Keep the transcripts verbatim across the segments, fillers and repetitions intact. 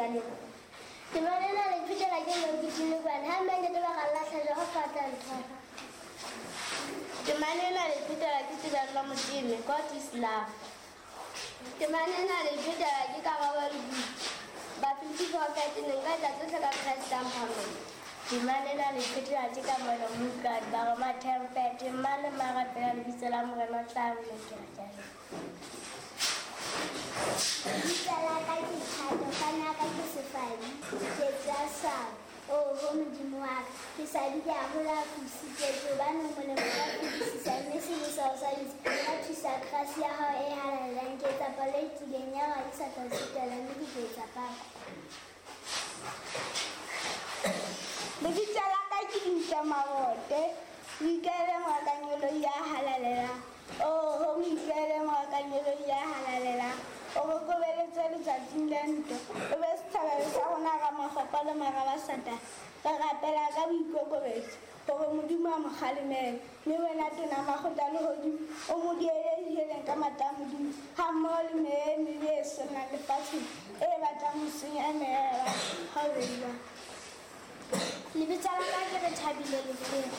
Ke a leboha. Temana ena le iphetela ke Nokutile Kwana, ha mme ntate ba ka lahla Jehova a tla ntshwara. Temana ena le iphetela ke Tebello Moteme, God is love. Temana ena le iphetela ke Karabo Lebuti, Bafilipi four thirteen, nka etsa tsohle ka Kreste a mphang matla. Temana ena le iphetela ke Kamohelo Moutlwane, Baroma ten thirteen, mang le mang a rapela lebitso la Morena o tla bolokela. Ke a leboha. Lebitso la ka ke Thato, fane ya ka ke Sefadi, ke tswa Swaba. Oho Modimo wa ka, ke swabile haholo ha ke o sitetswe, hobane o molemo ka ho fetisisa, mme sebe sa o swabisa. Ka thusa krasi ya hao e halalelang, ke etsa palo e tiileng ya hore ha ke sa tla o sitelwa, mme ke tla etsa pako. Lebitso la ka ke Dintle Mabote, o ikaele moakanyeloi ya halalelang. Oho, mo ikaele moakanyeloi ya halalelang. O re kobeletse letsatsing la ntwa, o be sethabelo sa rona ra makgopo le mara ba Satane. Re rapela ka boikokobetso hore Modimo a mo kgalemele, mme wena tona makgotla lehodimo o mo diele diheleng ka matla a Modimo, hammoho le meya e mebe e senang lefatsheng e batlang ho senya meya ya batho. Ha o be jwang? Lebitso la ka ke Rethabile Lefele.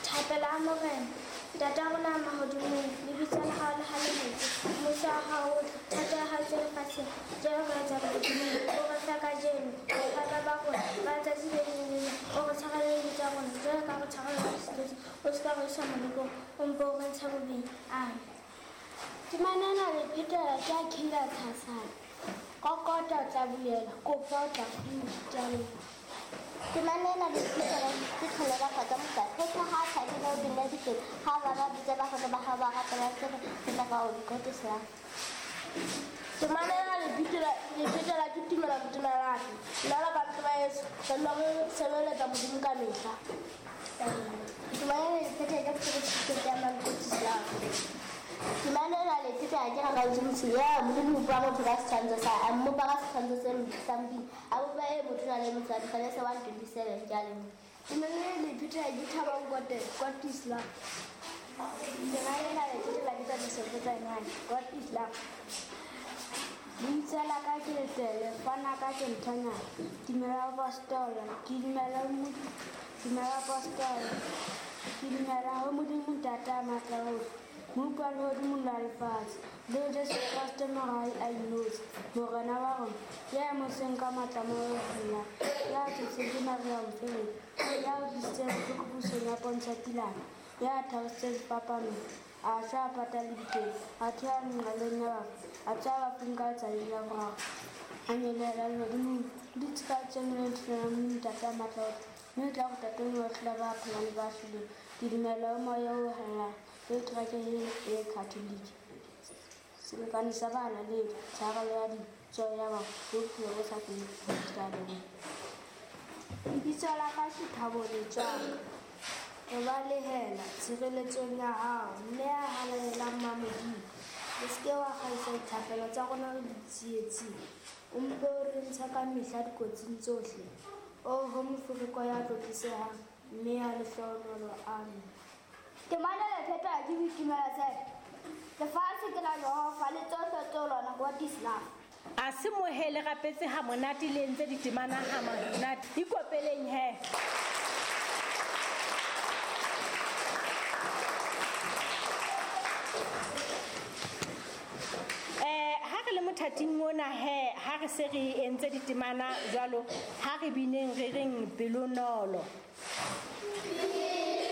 Thapelo ya Morena. Ntata rona ya mahodimong, lebitso la hao le halaletswe, mmuso wa hao o tle, thato ya hao e tswe lefatsheng jwalo ka e tswa lehodimong. O re fe kajeno bohwaba ba rona ba letsatsi le leng le leng, o re tshwarele dibe tsa rona jwalo ka re tshwarela ba re sitetsweng, o se ka re isa molekong, o mpe o re ntshe bobeng. Amen. Temana ena le phetela ke a Khinda Tshasana. Kokota o tla bulelwa, kopa o tla fuwa. Ke a leboha. Temana ena le phetela ke tlholo ba kgotsa mosadi. Ho ha thabile o bina dikete, ha ba ba bitsa ba kgotsa ba hao ba rapela tsebe, ke tla ka o God is love. Temana ena le phetela le phetela ke tumelo Modimo Nna le batho ba heso re nna re sebeletsa Modimo ka mehla. Temana ena le phetela ke Philip ya God is love. Temana ena le phetela ke Rakautse Motho ya Modimo o bopa motho ka setshwantsho sa a mmopa ka setshwantsho se sa Modimo, a bopa e motho na le motswadi, Genese one twenty-seven. Ke a leboha. Temana ena le phetela ke Thabang Kote, God is love. Temana ena le phetela ke Thabiso Potsanyane, God is love. Lebitso la ka ke Letele, fana ka ke Nthonyana. Dumela Apostola, ke dumela ho Modimo, dumela Apostola, ke dumela ho Modimo Ntate a matla ohle, Mmopi wa lehodimo le wa lefatshe, le ho Jesu Kreste Mora a inotshi, Morena wa rona, ya emetseng ka matla a Moya o Halalelang, ya tswetsweng ke Maria Mofereki, ya utlwisitseng bohloko pusong ya Pontsho Pilato, ya thabisitseng sefapanong, a shwa a pata lebitleng, a theoha nqalong ya bafu, a tsoha bafung ka letsatsi la boraro, a nyolohela lehodimong, o dutse ka letsohong le letona la Modimo Ntate a matla ohle, mme o tla kgutla teng ho ahlola ba phelang le ba shweleng. Ke dumela ho Moya o Halalelang, le kereke e Katholike, selekane sa bahalaledi, tshwarelo ya dibe, tsoho ya bafu, le bophelo bo sa feleng. Ke a leboha. Lebitso la ka ke Thabo Letswaka. Re balehela tshireletsong ya hao, mme ya halalelang ma Modimo. O se ke wa kgaisa dithapelo tsa rona re di tsietsing, o mpe o re ntshe ka mehla dikotsing tsohle. Oho mofereko ya tlotlisehang, mme ya lehlohonolo. Amen. Temana le phetela ke Boitumelo Tshepo. Lefatshe ke la Jehova le tsohle tse ho lona, God is love. A se mohele rapetse ha monate le entse ditemana ha monate. Ikopeleng he. Eh ha re le mothating ona he, ha re se re entse ditemana jwalo, ha re bineng re reng pelonolo. Pelonolo.